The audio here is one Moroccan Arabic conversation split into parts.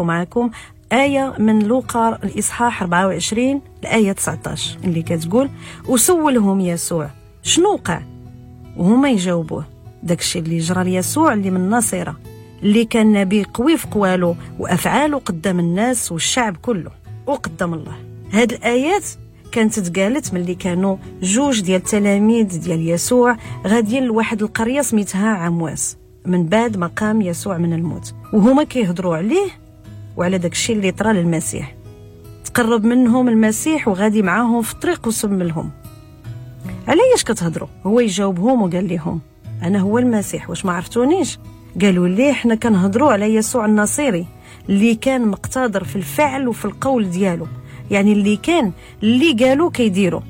معكم آية من لوقا الإصحاح 24 الآية 19 اللي كتقول: وسولهم يسوع شنو وقع؟ وهما يجاوبوه داكشي اللي جرى ليسوع اللي من الناصرة، اللي كان نبي قوي في قوالو وأفعاله قدام الناس والشعب كله وقدام الله. هاد الآيات كانت تقالت ملي كانوا جوج ديال التلاميذ ديال يسوع غاديين لواحد القرية سميتها عمواس من بعد ما قام يسوع من الموت، وهما كيهضروا عليه وعلى داكشي اللي طرا للمسيح. تقرب منهم المسيح وغادي معاهم في الطريق وسملهم: علاش كتهضروا؟ هو يجاوبهم وقال لهم: انا هو المسيح، واش ما عرفتونيش؟ قالوا ليه: حنا كنهضروا على يسوع الناصري اللي كان مقتدر في الفعل وفي القول ديالو، يعني اللي كان اللي قالوا كيديروا.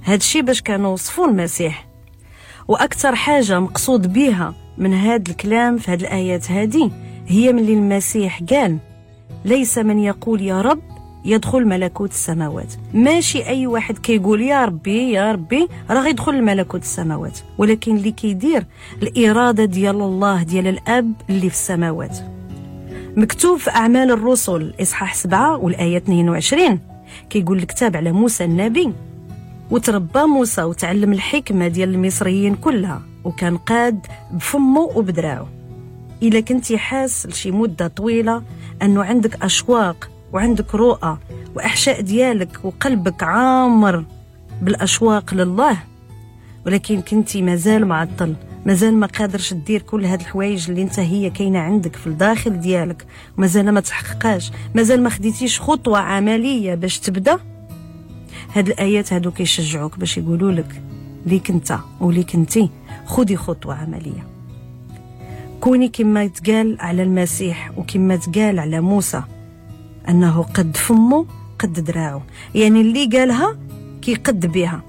هادشي باش كانوا وصفوا المسيح. واكثر حاجه مقصود بها من هاد الكلام في هاد الايات هادي هي ملي المسيح قال: ليس من يقول يا رب يدخل ملكوت السماوات. ماشي اي واحد كيقول يا ربي يا ربي راه غيدخل لملكوت السماوات، ولكن اللي كيدير الاراده ديال الله ديال الاب اللي في السماوات. مكتوب في اعمال الرسل اصحاح 7 والايه 22 كيقول الكتاب على موسى النبي: وتربى موسى وتعلم الحكمه ديال المصريين كلها، وكان قاد بفمه وبدراعه. الا كنتي حاس لشي مده طويله انه عندك اشواق وعندك رؤى واحشاء ديالك وقلبك عامر بالاشواق لله، ولكن كنتي مازال معطل، مازال ما قادرش دير كل هاد الحوايج اللي انت هي كاينه عندك في الداخل ديالك، مازال ما تحققاش، مازال ما خديتيش خطوه عمليه باش تبدا، هاد الايات هادو كيشجعوك باش يقولوا لك ليك انت وليك انتي خدي خطوه عمليه. كوني كما تقال على المسيح وكما تقال على موسى انه قد فمه قد دراعه، يعني اللي قالها كيقد بها.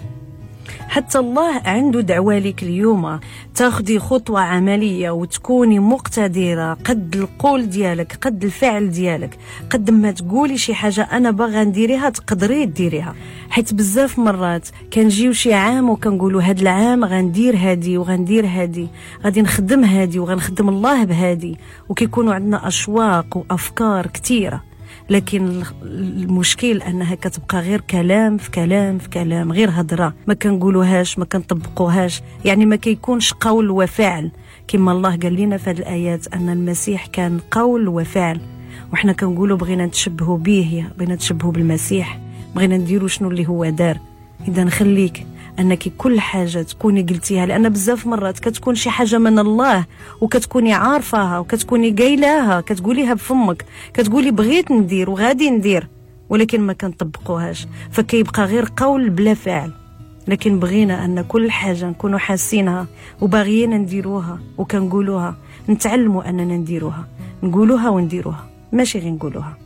حتى الله عنده دعوة لك اليوم تاخدي خطوة عملية وتكوني مقتدرة قد القول ديالك قد الفعل ديالك، قد ما تقولي شي حاجة أنا باغا نديريها تقدري ديريها. حيت بزاف مرات كنجيو شي عام وكنقولوا هاد العام غندير هادي وغندير هادي، غادي نخدم هادي وغنخدم الله بهادي، وكيكونوا عندنا أشواق وأفكار كثيرة، لكن المشكل انها كتبقى غير كلام في كلام في كلام، غير هضره ما كنقولوهاش ما كنطبقوهاش، يعني ما كيكونش قول وفعل. كما الله قال لنا في هذه الايات ان المسيح كان قول وفعل، وحنا كنقولوا بغينا نتشبهوا به، بغينا نتشبهوا بالمسيح، بغينا نديروا شنو اللي هو دار. اذا نخليك انك كل حاجه تكوني قلتيها، لان بزاف مرات كتكون شي حاجه من الله وكتكوني عارفاها وكتكوني قايلاها، كتقوليها بفمك، كتقولي بغيت ندير وغادي ندير، ولكن ما كنطبقوهاش، فكيبقى غير قول بلا فعل. لكن بغينا ان كل حاجه نكونوا حاسينها وباغيين نديروها وكنقولوها، نتعلموا اننا نديروها، نقولوها ونديروها، ماشي غير نقولوها.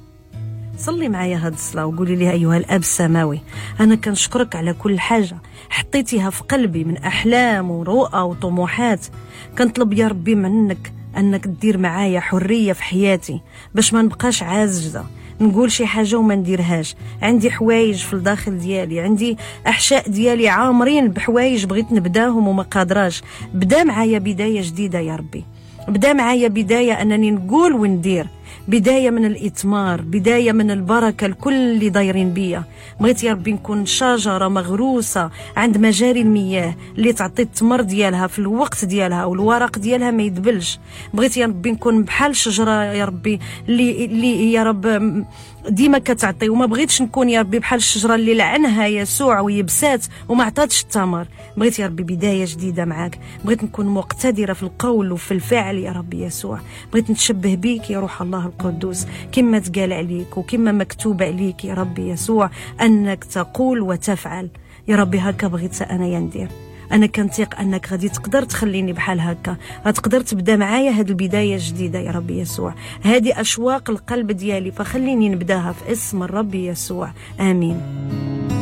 صلي معايا هاد الصلاة وقولي لي: أيها الأب السماوي، أنا كنشكرك على كل حاجة حطيتيها في قلبي من أحلام ورؤى وطموحات. كنطلب يا ربي منك أنك تدير معايا حرية في حياتي باش ما نبقاش عاجزة نقول شي حاجة وما نديرهاش. عندي حوايج في الداخل ديالي، عندي أحشاء ديالي عامرين بحوايج بغيت نبداهم وما قادراش. بدا معايا بداية جديدة يا ربي، بدا معايا بداية أنني نقول وندير، بداية من الإثمار، بداية من البركة لكل اللي دايرين بيا. بغيت يا ربي نكون شجرة مغروسة عند مجاري المياه اللي تعطي التمر ديالها في الوقت ديالها والورق ديالها ما يدبلش. بغيت يا ربي نكون بحال شجرة يا ربي اللي يا رب ديما كتعطي، وما بغيتش نكون يا ربي بحال الشجرة اللي لعنها يسوع ويبسات وما عطاتش الثمر. بغيت يا ربي بداية جديدة معاك، بغيت نكون مقتدرة في القول وفي الفعل يا ربي يسوع. بغيت نتشبه بيك يا روح الله القدوس، كما تقال عليك وكما مكتوب عليك يا ربي يسوع أنك تقول وتفعل. يا ربي هكا بغيت أنا يندير. أنا كنثيق أنك غادي تقدر تخليني بحال هكا، غتقدر تبدا معايا هاد البداية الجديدة يا ربي يسوع. هذه أشواق القلب ديالي، فخليني نبداها في اسم الرب يسوع، آمين.